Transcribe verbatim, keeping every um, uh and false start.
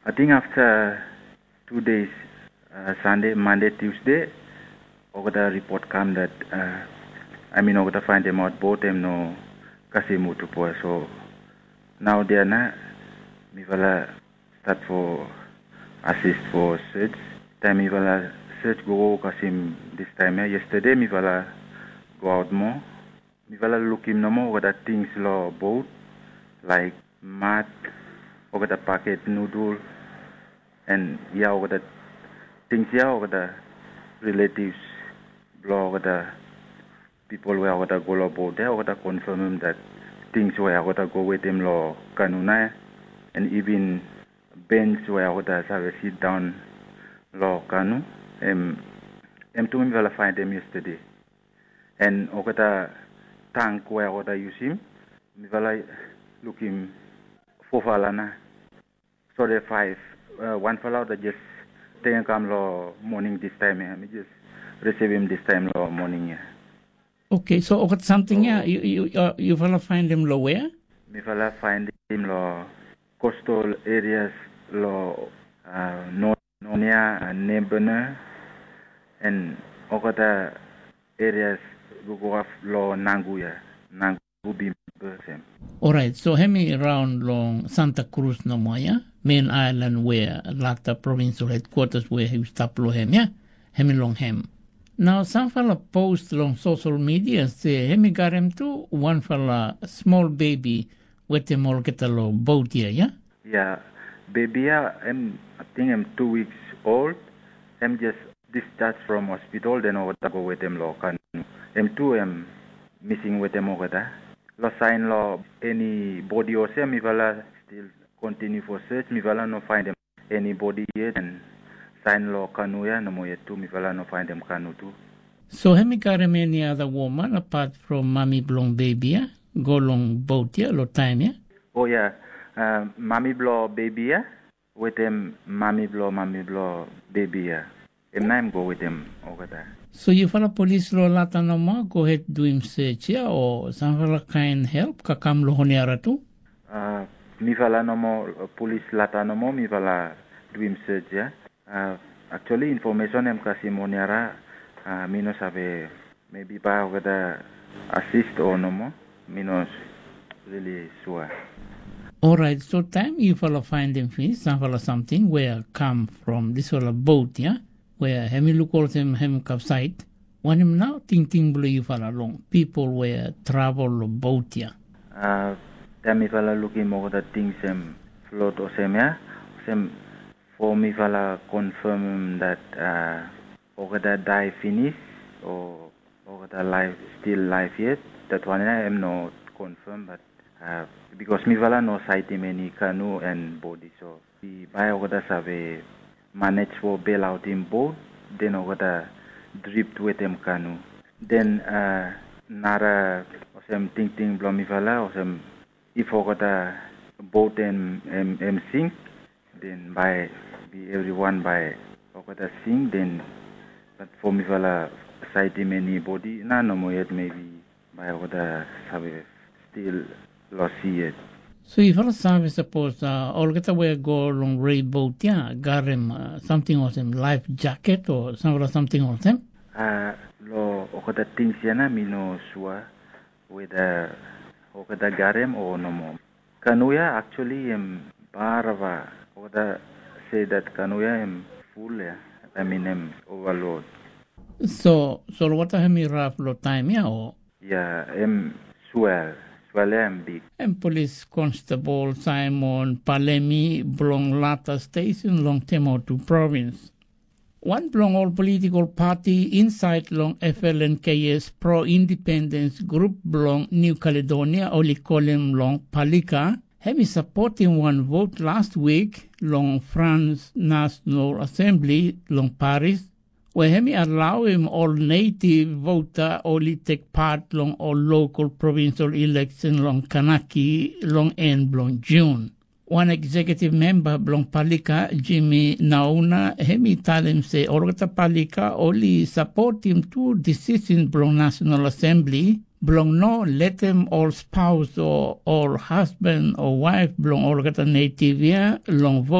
Ating afta tu des, Sande, Mande, Tiusde, olgeta ripot kam dat, amin olgeta faindemaot bot hem no kasem utupo. So naodea na mifala stat fo asis fo sej. Taem mifala sej gogo kasem distaem ya, yestede mifala goaot moa. Mifala lukim nomo olgeta tings long bot, laek mat, olgeta paket nudul, en ya olgeta tings ya olgeta riletivs blong olgeta pipol we olgeta go long bot ya olgeta konfemem dat tings we olgeta go wetem long kanu nao ya, en iven bens we olgeta save sidaon long kanu, hem tu mifala faindem yestede. En olgeta tang we olgeta yusim, mifala lukim fofala nao. Sore faef, wanfala olgeta jes tekem kam long moning distaem ya. Mi jes risivim distaem long moning ya. Oke, so olgeta samting ya yufala faindem long wea? Mifala faindem long kostol erias long Nonia, Nebena, en olgeta erias we go af long Nangu ya, Nangu, Bimba, olsem. Oraet, so hemi raon long Santa Krus nomo ya, men aelan we lata provinsol hedkwatas we yu stap long hem ya, hemi long hem. Nao samfala pos long sosol midia se hemi garem tu wanfala smol bebi wetem olgeta long bot ya, ya? Ya, bebi ya hem ating hem tu wiks ol. Hem jes disjaj from hospitol, den olgeta go wetem long kanu. Hem tu hem mising wetem olgeta. Long saen long eni bodi olsem mifala stil kontiniu fo sej, mifala no faindem eni bodi yet, en saen long kanu ya nomo yet tu, mifala no faindem kanu tu. So hemi garem eni ada woman apat from mami blong bebi ya go long bot ya long taem ya? O ya, mami blong bebi ya wetem mami blong mami blong bebi ya. Hem nao hem go wetem olgeta. So yufala polis long Lata nomo gohed duim sej ya, o samfala kaen help kam long Honiara tu? Mifala nomo, polis Lata nomo mifala duim sej ya. Aktuali infomesen hem kasem Honiara, mi no save. Mebi bae olgeta asis o nomo, mi no rili sua. Oraet, so taem yufala faindem finis samfala samting we kam from disfala bot ya, we hemi luk olsem hem kapsaed, wanem nao tingting blong yufala long pipol we travel long bot ya? Taem mifala lukim olgeta tings hem flot olsem ya, olsem fo mifala konfemem dat olgeta dae finis o olgeta laef, stil laef yet, dat wan ya hem no konfem, bat bikos mifala no saetem eni kanu en bodi, so bae olgeta save manej fo belaotem bot, den olgeta drift wetem kanu. Den nara olsem tingting blong mifala olsem if olgeta bot hem sink, den bae bi evriwan bae olgeta sink, den bat fo mifala saetem eni bodi nao nomo yet, mebi bae olgeta save stil long si yet. So yufala save sapos olgeta we go long rei bot ya garem samting olsem laef jaket o samfala samting olsem? Long olgeta tings ya nao mi no sua weda olgeta garem o nomo. Kanu ya aktuali hem barava, olgeta se dat kanu ya hem ful ya, amin hem ovalod. So solwota hemi raf long taem ya o? Ya, hem swel, swel ya hem big. Hem polis konstabol Saemon Palemi blong Lata stesen long Temotu provins. Wan blong ol politikol pati insaed long FLNKS pro-indipendens grup blong Niu Kaledonia oli kolem long Palika, hemi sapotem wan vot las wik long Frans Nasonal Asembli long Paris, we hemi alaoem ol netiv vota oli tek pat long ol lokol provinsol ileksen long Kanaki long en blong Jun. Wan eksekiutiv memba blong Palika, Jimmy Nauna, hemi talem se olgeta Palika oli sapotem tu disisen blong Nasonal Asembli blong no letem ol spaos o ol hasban o waef blong olgeta netiv ya long